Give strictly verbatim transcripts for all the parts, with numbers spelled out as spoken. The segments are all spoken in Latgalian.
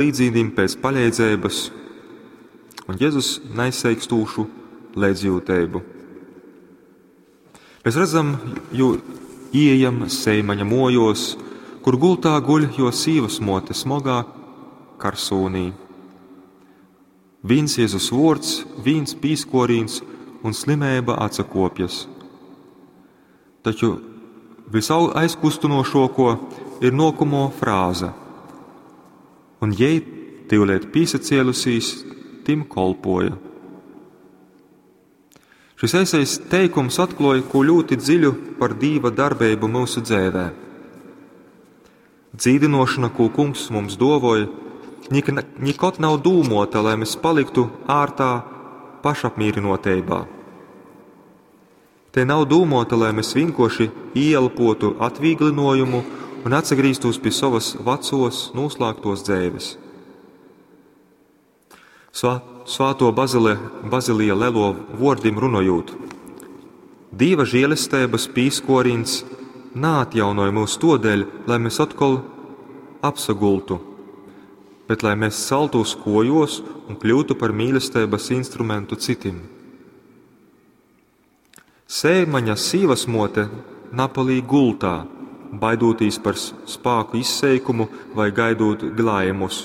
Klīdzīnim pēc paleidzeibys un Jezus naizseikstūšu leidzjyuteibu. Mēs redzam jū ieejam Seimaņa muojuos, kur gultā guļ juo sīvasmuote smogā karsūnī. Vīns Jezus vuords, vīns pīskuorīns un slimeiba atsakopjas. Taču visaizkustynošuokuo ir nuokamuo frāze: Un jei, tyuleit pīsacielusīs, tim kolpoja. Šis eisais teikums atkluoj kū ļūti dziļu par Dīva darbeibu myusu dzeivē. Dzīdynuošona, kū Kungs mums duovoj, nikod nav dūmuota, lai mēs paliktu ārtā pašapmīrynuoteibā. Te nav dūmuota, lai mēs vienkārši ieelpotu atvīglinuojumu un atsagrīztos pie sovas vecos, noslēgtos dzeives. Svā, svāto Bazile, Bazilija Lelo vuordim runojūt, Dīva žielesteibys pīskuorīns naatjaunoj myus tuodeļ, lai mēs atkal apsagultu, bet lai mēs celtūs kuojuos un kļūtu par mīlesteibys instrumentu citim. Seimaņa sīvasmuote napalīk gultā, baidūtīs par spāku izseikumu vai gaidūt glaimus,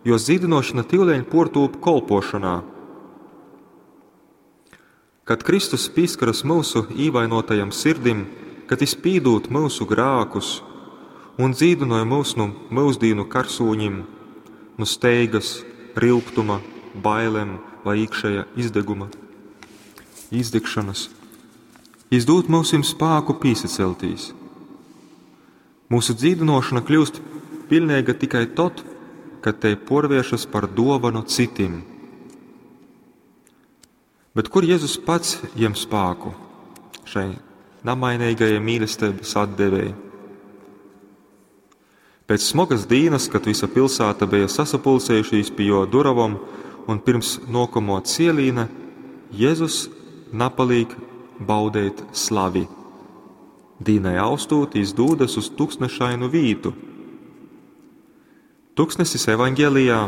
jo dzīdinošana tivleņ puortūp kolpošonā. Kad Kristus pīskaras myusu īvainotajam sirdim, kad jis pīdūd myusu grākus un dzīdynoj myus nu myusdīnu karsūņim, nu steigas, ryugtuma, bailem vai īkšēja izdeguma, izdegšanas, jis dūd myusim spāku pīsaceltīs. Mūsu dzīdynuošona kļūst piļneiga tikai tod, kad tei puorvēršas par duovanu citim. Bet kur Jezus pats jem spāku šai namainīgajai mīlestības atdevēji? Pēc smogas dīnas, kad visa pilsēta bija sasapulcējušīs pie jo duravom un pirms nokamo cielīna, Jezus napalīk baudeit slavi. Dīnai austūt, jis dūdas uz tuksnešainu vītu. Tuksnesis evaņgelijā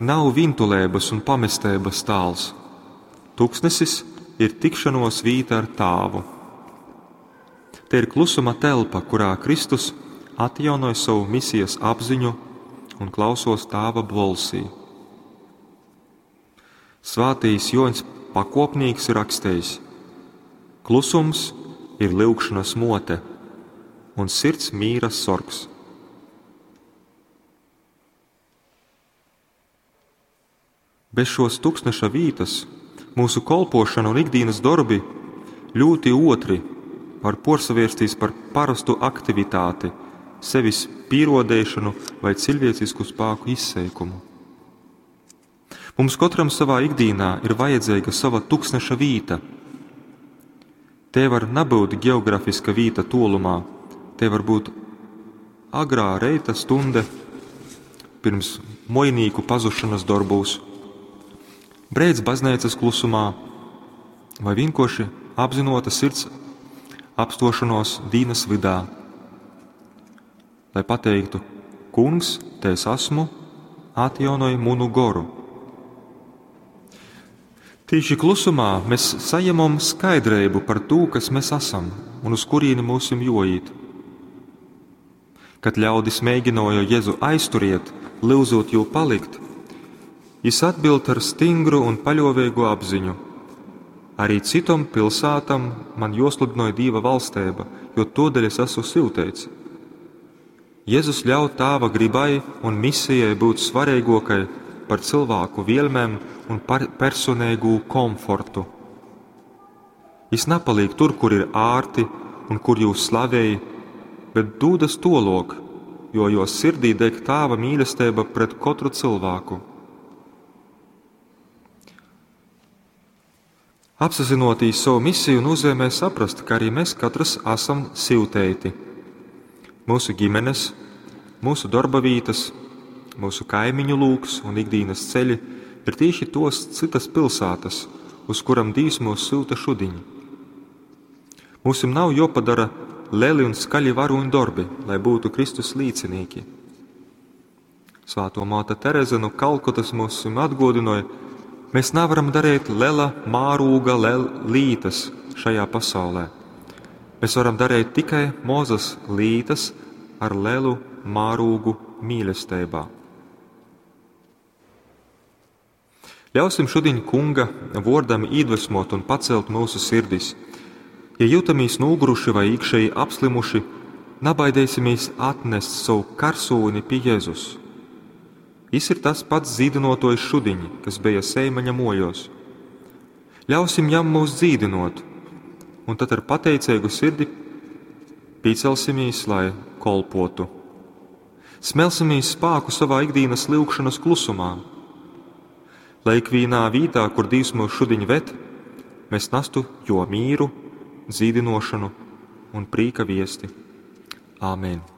nav vintuleibys un pamesteibys tāls. Tuksnesis ir tikšanos vīta ar Tāvu. Te ir klusuma telpa, kurā Kristus atjaunoj savu misijas apziņu un klausos Tāva bolsī. Svātīs Joņs Pakopnīks ir rakstējis: Klusums ir lyugšanas mote un sirds mīra sorgs. Bez šos tuksneša vītas mūsu kolpošana un ikdienas dorbi ļoti otri var porsavērstīs par parastu aktivitāti, sevis pīrodēšanu vai cilvēcisku spāku izseikumu. Mums katram savā ikdienā ir vajadzīga sava tuksneša vīta. Te var nabūt geografiska vīta tolumā, te var būt agrā reita stunde pirms mojnīku pazušanas darbūs, breids baznīcas klusumā vai vienkārši apzinota sirds apstošanos dīnas vidā, lai pateiktu: Kungs, te es esmu, atjaunoj munu goru. Tīši klusumā mēs saņemam skaidrību par to, kas mēs esam un uz kurieni mūsim joīt. Kad ļaudis mēģināja Jēzu aizturiet, lūdzot jū palikt, jis atbild ar stingru un paļovīgu apziņu: Arī citom pilsētam man josludinoja Dīva valstība, jo todēļ es esmu syuteits. Jēzus ļauj Tāva gribai un misijai būt svarīgākai par cilvēku vielmēm un par personīgu komfortu. Jis napaliek tur, kur ir ārti un kur jūs slavēji, bet dūdas tolok, jo jo sirdī deg Tāva mīlestība pret katru cilvēku. Apzinoties savu misiju nozīmē saprast, ka arī mēs katrs esam syuteiti. Mūsu ģimenes, mūsu darba vietas, mūsu kaimiņu lūks un ikdienas ceļi ir tieši tos citas pilsētas, uz kuram Dievs mūs syuta šudiņ. Mūsim nav jopadara lieli un skaļi varoņu darbi, lai būtu Kristus līdzinīki. Svātō māte Tereze nu Kalkutas mums atgōdynoj, mēs nevaram darīt lela mārūga lel lītas šajā pasaulē. Mēs varam darīt tikai mozas lītas ar lelu mārūgu mīlestībā. Ļausim šodien Kunga vōrdam iedvesmot un pacelt mūsu sirdis. Ja jūtamies noguruši vai iekšēji apslimuši, nabaidēsimies atnest savu karsūni pie Jēzus. Jis ir tas pats dzīdinotojs šudiņ, kas bija Seimaņa mojos. Ļausim jam mūs dzīdinot, un tad ar pateicīgu sirdi piecelsimies, lai kolpotu. Smelsimies spāku savā ikdienas lūgšanas klusumā. Lai ikvienā vītā, kur Dievs mūs šudiņ ved, mēs nastu jo mīru, dzīdinošanu un prīka viesti. Āmen!